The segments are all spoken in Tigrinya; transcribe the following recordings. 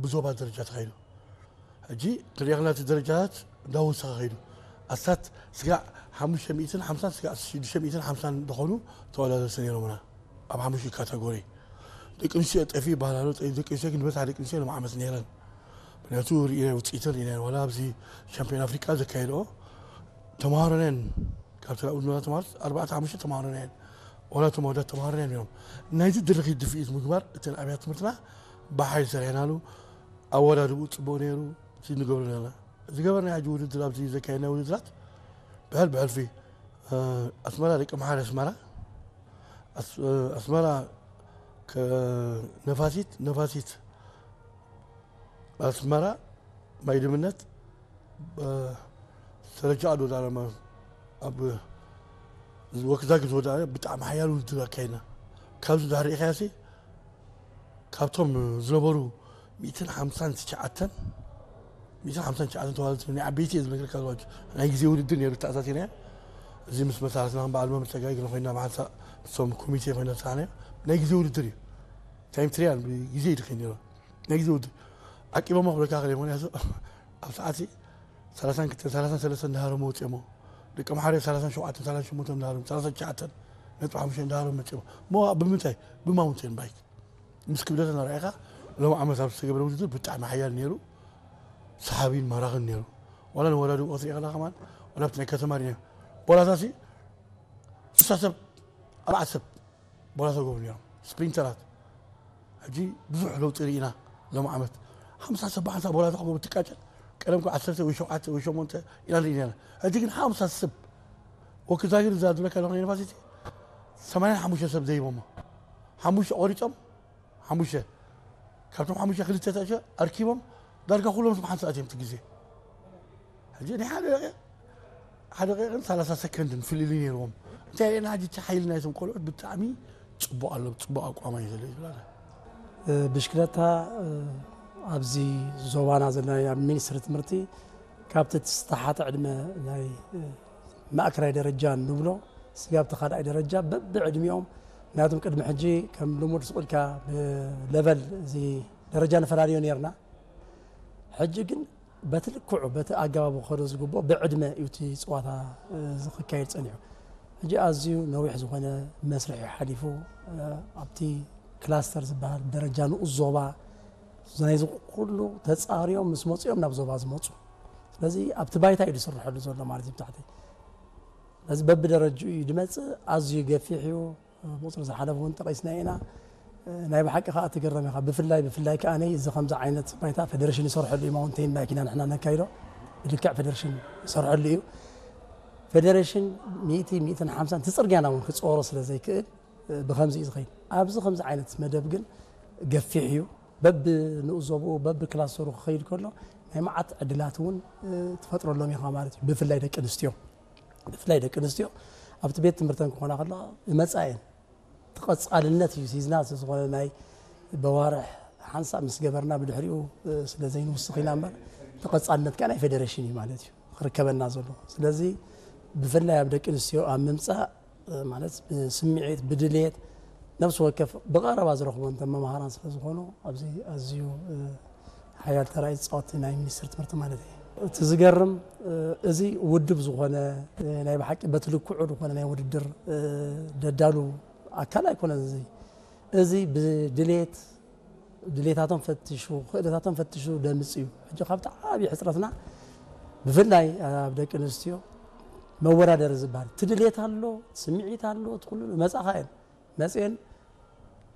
ብዞባ ደረጃ ተኻይዱ። ሕጂ ትሪኦ ከለና እቲ ደረጃታት እንዳወሰኸ ኸይዱ። ኣስታት ስጋዕ ሓሙሽተ ሚእትን ሓምሳን ስጋዕ ሽዱሽተ ሚእትን ሓምሳን ዝኾኑ ተወዳደርቲ ነይሮምና። ኣብ ሓሙሽተ ካተጎሪ ደቂ ኣንስትዮ ጠፊ ይበሃል ኣሎ። ጠ-፣ ደቂ ኣንስትዮ ግን ዝበዝሓ ደቂ ኣንስትዮ ሎም ዓመት ነይረን። ምክንያቱ ርኢና ውፅኢተን ርኢና፣ ዋላ ኣብዚ ሻምፒዮን ኣፍሪቃ ዘካየድኦ ተምሃሮ ነን፣ ካብተን ኣብኡ ዝነበራ ተምሃሮ ኣርባዕተ ሓሙሽተ ተምሃሮ ነን፣ ዋላ እቶም ኣወዳት ተምሃሮ ነን ነይሮም። ናይዚ ድርኺት ድፍኢት ምግባር እተን ኣብያተ ትምህርትና ብሓይሊ ሰሪሕናሉ። ኣወዳድብኡ ፅቡቕ ነይሩ። እዚ ንገብሮ ዘለና፣ ዝገበርናዮ ሕጂ ውድድር፣ ኣብዚ ዘካየድናዮ ውድድራት ብሕል ብሕልፊ፣ እ፣ ኣስመራ ደቂ መሓሪ ኣስመራ፣ ኣስ-፣ እ፣ ኣስመራ ከ-፣ ነፋሲት፣ ነፋሲት ኣስመራ ማይ ድምነት፣ እ፣ ሰረጃ ኣዶ ዳረማ ኣብ ወክዛጊ ዝወዳእና ብጣዕሚ ሓያል ውድድር ኣካይድና። ካብዚ ድሕሪ ኢኻያሲ ካብቶም ዝነበሩ ሚእትን ሓምሳን ትሽዓተን፣ ሚእትን ሓምሳን ትሽዓተን ተዋዳደርቲ ናይ ዓበይቲ እየ ዝነግረካ ዘለኹ። ናይ ግዜ ውድድር ነይሩ ተኣሳሲርና። እዚ ምስ መሳርሕትና በዓል መምህር ጸጋይ ግን ኮይና ብሓንሳእ ምስቶም ኮሚቴ ኮይና ዝሰራሕናዮ ናይ ግዜ ውድድር እዩ። ታይም ትሪያል ብግዜ እዩ ድኸይ ነይሩ። ናይ ግዜ ውድድር ዓቂቦሞ ክብለካ ክእል እየ። ምኽንያቱ ኣብ ሰዓት ሰላሳን ክልተን ሰላሳን ሰለስተን እንዳሃረሙ ወፂኦሞ። ደቂ ኣምሓሩ ሰላሳን ሸውዓተን ሰላሳን ሸሞንተን እንዳሃረሙ፣ ሰላሳን ትሽዓተን ነጥቢ ሓሙሽተ እንዳሃረሙ መፂኦሞ። እሞ ብምንታይ? ብማውንቴን ባይክ። ምስ ክብደተን ኣርኣይካ ሎም ዓመት ኣብ ዝተገብረ ውድድር ብጣዕሚ ሓያል ነይሩ። ሰሓቢን ማራኽን ነይሩ። ዋላ ንወዳድብኦ ክትሪኦ ከለኻ ከማን፣ ዋላ ኣብቲ ናይ ከተማ ርኢና። ቦላታሲ ስሳ ሰብ፣ ኣርባዕተ ሰብ ቦላታ ጎብ ነይሮም። ስፕሪንተራት። ሕጂ ብዙሕ ለውጢ ርኢና ሎም ዓመት። ሓምሳ ሰብ ብሓንሳእ ቦላታ ክጎብ ትቃጨል። ቀደም እኮ ዓሰርተ ወይ ሸውዓተ ወይ ሸሞንተ ኢና ንርኢ ነርና። ሕጂ ግን ሓምሳ ሰብ። ወክዛጊር እዛ ዝብለካ ዘለኹ ዩኒቨርሲቲ ሰማንያን ሓሙሽተ ሰብ ዘይቦሞ። ሓሙሽተ ቆሪጾም፣ ሓሙሽተ። ካብቶም ሓሙሽተ ክልተ ተእሸ ኣርኪቦም ዳርጋ ኩሎም ስም ሓንሳእ ኣትዮም እቲ ግዜ። ሕጂ ናይ ሓደ ደቂቕ፣ ሓደ ደቂቕን ሰላሳ ሰከንድን ፍልልይ ነይርዎም። እንታይ ርኤና ሕጂ እቲ ሓይሊ ናይቶም ቆልዑት ብጣዕሚ ጽቡቕ ኣሎ፣ ጽቡቕ ኣቋም እዩ ዘሎ ይብላና። እ፣ ብሽክለታ፣ እ፣ ኣብዚ ዞባና ዘለና ኣብ ሚኒስትሪ ትምህርቲ ካብቲ ዝተሓተ ዕድመ ናይ፣ እ፣ ማእከላይ ደረጃ ንብሎ ስጋብ እቲ ካልኣይ ደረጃ በብዕድሚኦም፣ ምክንያቱም ቅድሚ ሕጂ ከም ልሙድ ስቕ ኢልካ ብለቨል እዚ ደረጃ ንፈላለዮ ነይርና። ሕጂ ግን በቲ ልክዑ፣ በቲ ኣገባቡ ክኸዶ ዝግብኦ ብዕድመ እዩ እቲ ፀዋታ፣ እ፣ ዝክካየድ ፀኒሑ። ሕጂ ኣዝዩ ነዊሕ ዝኾነ መስርሕ እዩ ሓሊፉ፣ እ፣ ኣብቲ ክላስተር ዝበሃል ደረጃ ንኡስ ዞባ ናይዚ ኩሉ ተፃርዮም ምስ መፅኦም ናብ ዞባ ዝመፁ። ስለዚ ኣብቲ ባይታ እዩ ዝስርሐሉ ዘሎ ማለት እዩ ብታሕቲ። ስለዚ በብደረጅኡ እዩ ዝመፅእ፣ ኣዝዩ ገፊሕ እዩ። ብቁፅሪ ዝሓለፈ እውን ጠቒስና ኢና። ናይ ብሓቂ ከዓ ትግረም ኢኻ። ብፍላይ፣ ብፍላይ ከዓ ነይ እዚ ከምዚ ዓይነት ባይታ ፌደሬሽን ይሰርሐሉ እዩ። ማውንቴን ባይክ ኢና ንሕና ነካይዶ። ብልክዕ ፌደሬሽን ይሰርሐሉ እዩ። ፌደሬሽን ሚእቲ፣ ሚእትን ሓምሳን እቲ ፅርግያና እውን ክፅወሮ ስለ ዘይክእል፣ ብኸምዚ እዩ ዝኸይድ። ኣብዚ ከምዚ ዓይነት መደብ ግን ገፊሕ እዩ። በብንኡስ ዞብኡ፣ በብክላስተሩ ክኸይድ ከሎ ናይ መዓት ዕድላት እውን ትፈጥረሎም ኢኻ ማለት እዩ። ብፍላይ ደቂ ኣንስትዮ፣ ብፍላይ ደቂ ኣንስትዮ ኣብቲ ቤት ትምህርተን ክኾና ከለዋ ይመጻ እየን። ተቐጻልነት እዩ ሒዝና፣ ስለ ዝኾነ ናይ በዋርሕ ሓንሳብ ምስ ገበርና ብድሕሪኡ፣ እ፣ ስለ ዘይንውስኽ ኢና እምበር፣ ተቐጻልነት ከኣ ናይ ፌደሬሽን እዩ ማለት እዩ ክርከበና ዘሎ። ስለዚ ብፍላይ ኣብ ደቂ ኣንስትዮ ኣብ ምምጻእ፣ እ፣ ማለት ብስምዒት፣ ብድሌት፣ ነፍሲ ወከፍ ብቐረባ ዝረኽቦ እንተ መምሃራን ስለ ዝኾኑ፣ ኣብዚ ኣዝዩ፣ እ፣ ሓያል ተራ እዩ ዝጻወት ናይ ሚኒስትሪ ትምህርቲ ማለት እዩ። እቲ ዝገርም፣ እ፣ እዚ ውድብ ዝኾነ፣ እ፣ ናይ ብሓቂ በቲ ልክዑ ዝኾነ ናይ ውድድር፣ እ፣ ደዳሉ ኣካል ኣይኮነን። እዚ፣ እዚ ብድሌት፣ ድሌታቶም ፈትሹ፣ ክእለታቶም ፈትሹ ደምጽ እዩ። ሕጂ ካብቲ ዓብዪ ሕጽረትና ብፍላይ ኣብ ደቂ ኣንስትዮ መወዳደሪ ዝበሃል፣ እቲ ድሌት ኣሎ፣ ስምዒት ኣሎ፣ እቲ ኩሉ መጻኻ እየን። መጽኤን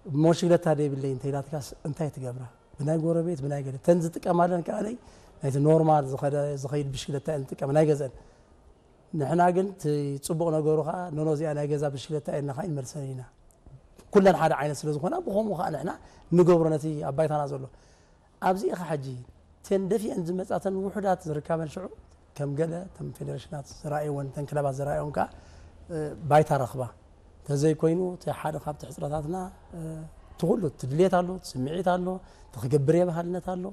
እሞ ሽግለታ ደይብለይ እንተ ኢላትካስ እንታይ ትገብራ? ብናይ ጎረቤት፣ ብናይ ገለ። እተን ዝጥቀማለን ከኣ ናይ፣ ናይቲ ኖርማል ዝኸደ-፣ ዝኸይድ ብሽግለታ እየን ዝጥቀማ፣ ናይ ገዝአን። ንሕና ግን እቲ ጽቡቕ ነገሩ ከኣ፣ ኖኖ እዚኣ ናይ ገዛ ብሽግለታ እየን ኢልና ከኣ ይንመልሰን ኢና። ኩለን ሓደ ዓይነት ስለ ዝኾና፣ ብኸምኡ ከኣ ንሕና ንገብሮ ነቲ ኣብ ባይታና ዘሎ። ኣብዚ ኢኻ ሕጂ፣ እተን ደፊአን ዝመጻተን ውሑዳት ዝርካበን ሽዑ፣ ከም ገለ እተን ፌደሬሽናት ዝረኣይወን፣ እተን ክለባት ዝረኣይወን ከኣ፣ እ፣ ባይታ ረኽባ። እንተዘይኮይኑ፣ እቲ ሓደ ካብቲ ሕጽረታትና፣ እ፣ እቲ ኩሉ፣ እቲ ድሌት ኣሎ፣ እቲ ስምዒት ኣሎ፣ እቲ ክገብር የባህልነት ኣሎ።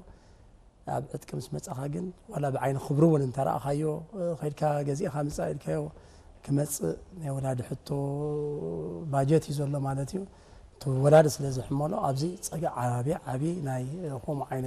ኣብ ዕጥቂ ምስ መጻኻ ግን፣ ዋላ ብዓይኒ ክብሪ እውን እንተረኣኻዮ፣ እ፣ ኸይድካ ገዚእኻ ምጻእ ኢልካዮ ክመጽእ ናይ ወላዲ ሕቶ ባጀት እዩ ዘሎ ማለት እዩ። እቲ ወላዲ ስለ ዝሕመሎ፣ ኣብዚ ጸገ-፣ ዓቢ፣ ዓቢ ናይ፣ እ፣ ከምኡ ዓይነት